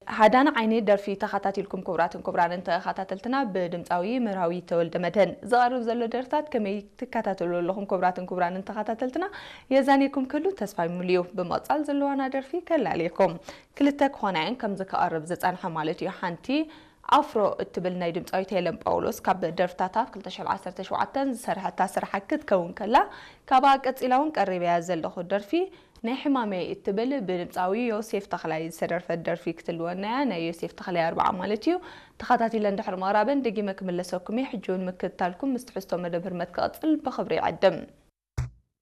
ሃዳና ዓይኒ ደርፊ ተኸታቲልኩም ክቡራትን ክቡራንን ተኸታተልትና፣ ብድምፃዊ መርሃዊ ተወልደ መድህን ዝቐርብ ዘሎ ደርፍታት ከመይ ትከታተሉ ኣለኹም? ክቡራትን ክቡራንን ተኸታተልትና የዛኔኩም ክሉ ተስፋ ይሙልዩ። ብምቕፃል ዘለዋና ደርፊ ከላልየኩም። ክልተ ክኾና እየን ከምዚ ክቐርብ ዝፀንሐ ማለት እዩ። ሓንቲ ኣፍሮ እትብል ናይ ድምፃዊት ሄለን ጳውሎስ ካብ ደርፍታታ ኣብ ክልተ ሽሕን ዓሰርተ ሸውዓተን ዝሰርሐታ ስራሕ ክትከውን ከላ፣ ካብኣ ቀፂላ እውን ቀሪበያ ዘለኹ ደርፊ ናይ ሕማመይ እትብል ብድምፃዊ ዮሴፍ ተኽላይ ዝተደርፈት ደርፊ ክትልወና እያ። ናይ ዮሴፍ ተኽላይ ኣርብዓ ማለት እዩ። ተኸታቲለ እንድሕር ምቕራበን ደጊመ ክምለሰኩም እየ። ሕጂ እውን ምክትታልኩም ምስ ትሕዝቶ መደብ ህርመት ክቕፅል ብኽብሪ ይዕድም።